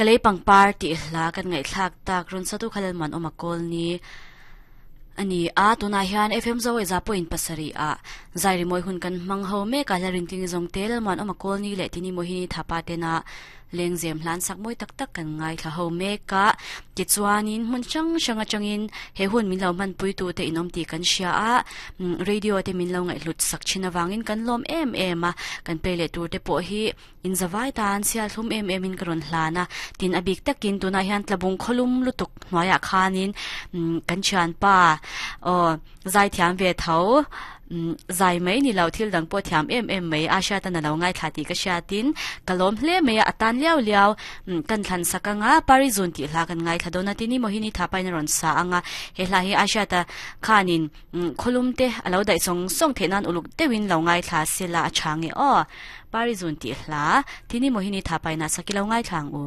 Ka lei pangpar tih hla kan ngaihthlak tak rawn satu kha Lalmuan awm a kawl ni a ni a, tunah hian FM Zawaiza pawhin pasarih ah zai rimawi hun kan hmang ho mek a, hla rintling zawng te Lalmuan awm a kawl ni leh tini Mohini Thapa tena Lengzem hlan sak mawi tak tak kan ngaithla ho mek a, tichuanin hmun hrang hrang atangin he hun min lo hmanpui tute in awm tih kan hria a, radio te min lo ngaihhlut sak thin avangin kan lawm em em a, kan play leh tur te pawh hi in zavai tan chhiat hlum em em in ka rawn hlan a, tin a bik takin tunah hian tlabung khawlum lutuk hnuaiah khanin kan thianpa aw zaithiam ve tho. Zai mai ni lo thil dang pawh thiam em em mai a hriat a na lo ngaithla tih ka hriatin ka lawm hle mai a, a tan liau liau kan thlan sak anga Parizun tih hla kan ngaithla dawn a tini Mohini Thapain a rawn sa anga he hla hi a hriat a khanin khawlum te a lo daih sawng sawng theih nan uluk deuhin lo ngaithla sela a tha nge aw Parizun tih hla tini Mohini Thapain a sak i lo ngaithla ang u.